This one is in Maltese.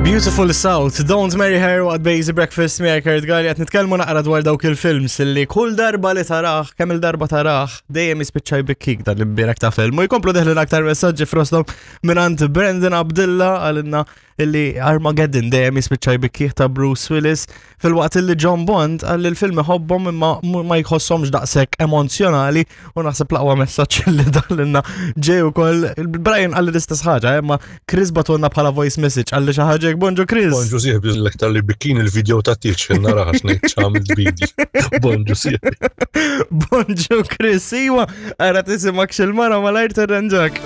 Beautiful South, Don't Marry Her waqt Basic Breakfast miegħek Kurt Gari qed nitkellmu naqra dwar dawk il-films li kull darba li tarah, kemm il-darba tarah, dejjem jispiċċa jbikkik dan l-imbierek ta' film. U jkomplu deħlin aktar messaġġi frostom mingħand Brandon Abdilla għalinna illi Armageddon dejjem jispiċċa jbikkih ta' Bruce Willis filwaqt illi John Bond għalli l-film iħobbhom imma ma jħossomx daqshekk emozjonali u naħseb l-aqwa messaġġ li dalinna ġej ukoll Brian qalli l-istess ħaġa, eh, imma Chris batulna bħala voice message qalli xi ħaġa hekk bonġu Chris. Bonġu sieħbi l-aktar li bikkin il-video ta' tieċ xejn nara għax ngħid x'għamilt bidi. Bonġu sieħbi. Bonġu Chris, iwa, ara tisimak xil-mara malajr terranġak.